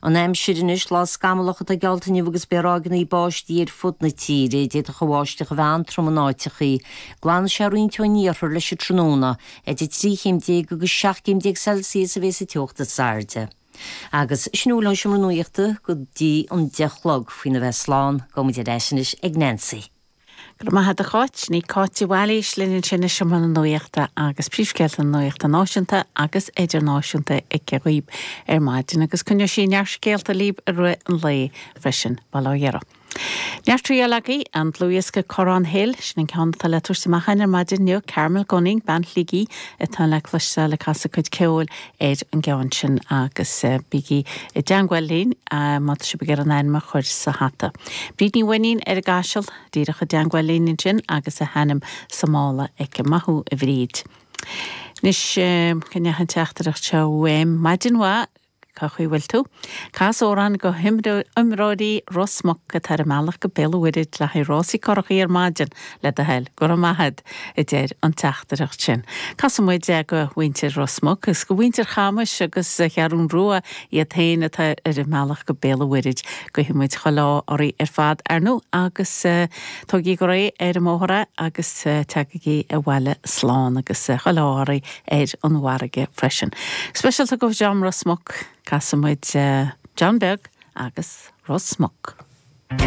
An aimsir anois, lá scamallach atá geallta inniu agus beidh ráigeanna báistí ar fud na tíre. D'fhéadfadh an bháisteach a bheith an-trom in áiteachaí. Glanfaidh sé roinnt ón iarthar leis an tráthnóna. Idir 13 chéim agus 17 céim Celsius a bheas an teocht is airde. Agus sin a bhfuil ón Seomra Nuachta go dtí an 10 a chlog. Faoina bheith slán, gabhfaidh muid ar ais anois ag Nancy. Go raibh maith agat a Cháit. Sin í Cáit Uí Bhailís linn ansin i Seomra na Nuachta agus príomhscéalta na nuachta náisiúnta agus idirnáisiúnta aici dhaoib ar maidin agus coinneoidh sí neart scéalta libh i rith an lae freisin, bail ó Dhia oraibh. Neart triail agaibh, an dlúthdhiosca Corrán Hill, sin an ceann atá le tabhairt amach againn ar maidin inniu, Carmel Gunning, bean Shligigh, atá le cloisteáil ag casadh cuid ceoil ar an gceann sin agus bígí i dteangmháil linn má tá sibh ag iarraidh an ainm a chur sa hata. Bríd Ní Mhainnín ar an gCaiseal, díreach i dteangmháil linn ansin agus a hainm sa mála aici. Maith thú a Bhríd. Anois, cá ndeachaigh an teachtaireacht seo uaim? Maidin mhaith. Cá chaoi bhfuil tú? Cas amhrán go himreoirí Ros Muc atá ar a mbealach go Béal an Mhuirthead le haghaidh rásaí curachaí ar maidin, le do thoil. Go raibh maith a't, a deir an teachtaireacht sin. Casfaidh muid é go mhuintir Ros Muc agus go mhuintir Chamais agus Cheathrún Rua iad féin atá ar a mbealach go Béal an Mhuirthead. Guífidh muid chuile ádh oraibh ar fad, ar ndóigh, agus tógaigí go réidh ar an mbóthar é agus teagaigí abhaile slán agus chuile ádh oraibh ar an bhfarraige freisin. Speisialta go Dream Ros Muc, casfaidh muid John Beag agus Ros Muc.